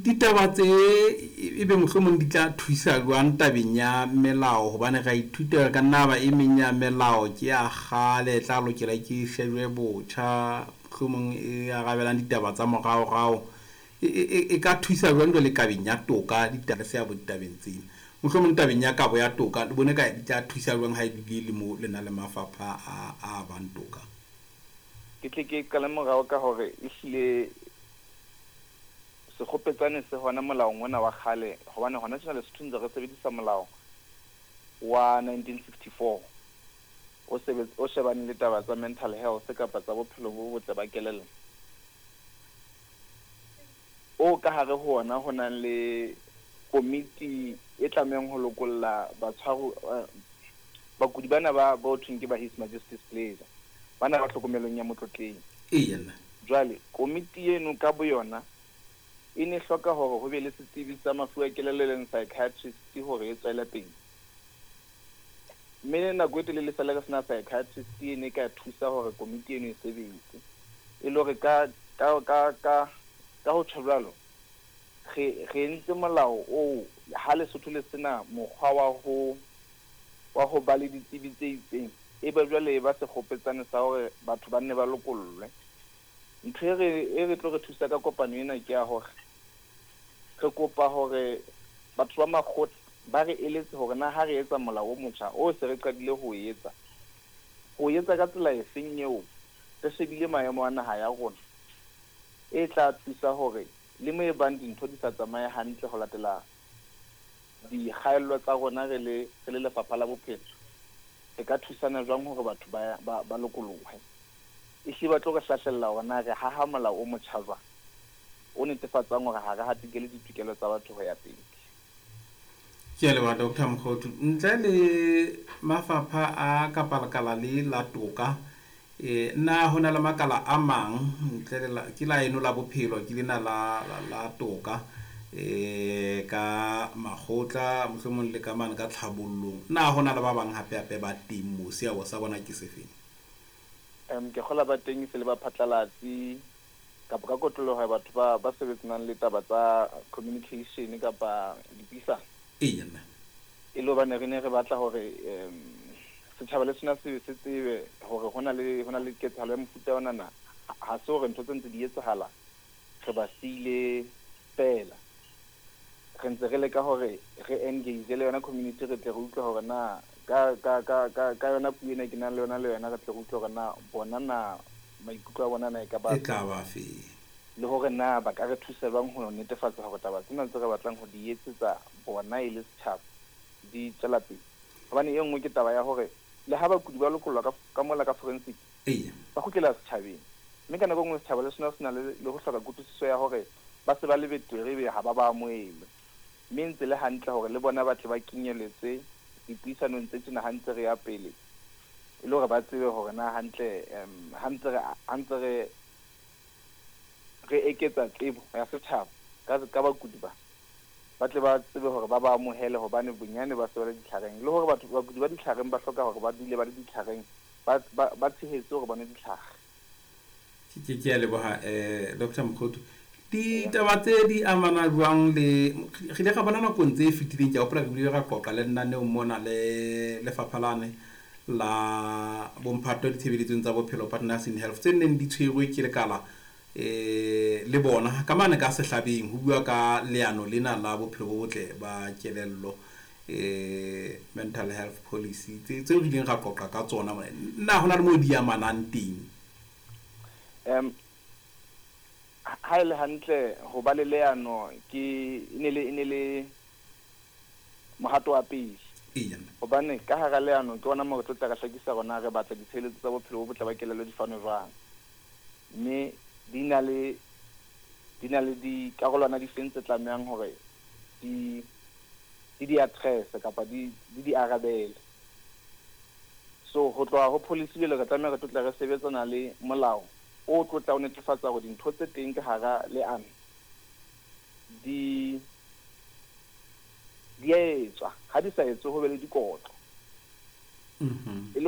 Ditaba tse ebe mohlomong di tla thusa jwang tabeng ya melao, hobane re a ithuta ka nna ba e meng ya melao ke ya kgale, e tla lokela ke shejwe botjha, mohlomong e arabelang ditaba tsa moraorao. E ka thusa jwang jwale kabeng ya toka, le seabo ditabeng tsena? Mohlomong tabeng ya kabo ya toka, le bone ka di tla thusa jwang ha e bile le mo le na le mafapha a bang toka? Ke tle ke qale morao ka hore ehlile sekgopetsane se hona molaong ona wa kgale, hobane hona tjena Lesotho ntse re sebedisa molao wa 1964 o shebane le taba tsa mental health kapa tsa bophelo bo botle ba kelello, o ka hare ho ona ho nang le komiti e tlamehang ho lokolla batshwaru, bakudi bana ba bo thweng ke ba His Majesty's Pleasure, bana ba tlhokomelong ya motlotleng. Jwale komiti eno ka boyona e ne hloka hore ho be le setsebi sa mafu a kelello e leng psychiatrist hore e tswele pele. Mme nako e telele sale re sena psychiatrist e ne ka thusa hore komiti eno e sebetse. E le hore ka ho tjho jwalo, re entse molao oo ha Lesotho le sena mokgwa wa ho ba le ditsebi tse itseng, e be jwale e ba sekgopetsane sa hore batho ba nne ba lokollwe. Ntho e re tlo re thusa ka kopano ena ke ya hore re kopa hore batho ba makgotla ba re eletse hore na ha re etsa molao o motjha o se re qadile ho etsa, ho etsa ka tsela efeng eo re shebile maemo a naha ya rona, e tla thusa hore le mo e bang dintho di sa tsamaye hantle ho latela dikgaello tsa rona re le lefapha la bophelo, re ka thusana jwang hore batho ba lokolohe. Ehlile ba tlo re hlahlella hore na re haha molao o motjha jwang o netefatsang hore ha re hatikele ditokelo tsa batho ho ya pele. Ke a leboha Dr. Mokhothu. Ntle le mafapha a kapa lekala le la toka, na ho na le makala a mang ntle le ke la eno la bophelo, ke lena la toka, ka makgotla mohlomong le ka mane ka tlhabollong, na ho na le ba bang hape ba teng moo, seabo sa bona ke sefeng? Ke kgola ba teng se le ba phatlalatsi kapa ka kotloloho ya batho ba sebetsanang le taba tsa communication kapa dipuisano. Eya. E le hobane re ne re batla hore setjhaba le sona se tsebe hore ho na le ketsahalo ya mofuta ona na, ha se hore ntho tse ntse di etsahala re ba siile fela. Re ntse re leka hore re engage le yona community, re tle re utlwe hore na ka yona puo ena ke nang le yona le yona, re tle re utlwe hore na bona na maikutlo a bona na e ka ba e tla ba fe, le hore na ba ka re thusa jwang ho netefatsa hore taba tsena tse re batlang ho di etsetsa bona e le setjhaba di tswela pele. Hobane e nngwe ke taba ya hore le ha bakudi ba lokollwa ka mola ka forensic, ba kgutlela setjhabeng, mme ka nako e nngwe setjhaba le sona se na le ho hloka kutlwisiso ya hore ba se ba le betere ebe ha ba ba amohele. Mme ntse le hantle hore le bona ba tle ba kenyeletswe dipuisanong tse tjena ha ntse re ya pele, e le hore ba tsebe hore na hantle ha ntse re eketsa tsebo ya setjhaba ka bakudi ba tle ba tsebe hore ba ba amohele, hobane bonyane ba se ba le ditlhareng, le hore batho bakudi ba ditlhareng ba hloka hore ba dule ba le ditlhareng, ba tshehetse hore ba nwe ditlhare. Ke a leboha Dr. Mokhothu. Ditaba tse di amana jwang le re ile ra bona nakong tse fetileng, ke a hopola re bile ra qoqa le nnaneong mona le lefapha lane la bomphato ditshebeletsong tsa bophelo Partners in Health tse neng di tshwerwe ke lekala le bona ka mane ka sehlabeng ho bua ka leano lena la bophelo bo botle ba kelello, mental health policy tse re ileng ra qoqa ka tsona mona. Na hona le moo di amanang teng? Ha e le hantle ho ba le leano ke e ne le mohato wa pele. Hobane ka hara leano ke ona mo re tlo tla re hlakisa rona re batla ditshebeletso tsa bophelo bo botle ba kelello di fanwe jwang, mme di na le dikarolwana di feng tse tlamehang hore di di address kapa di di arabele. So ho tloha ho policy jwale re tlameha re tlo tla re sebetsana le molao o tlo tla o netefatsa hore dintho tse teng ka hara leano di a etswa, ha di sa etswe ho be le dikotlo. E le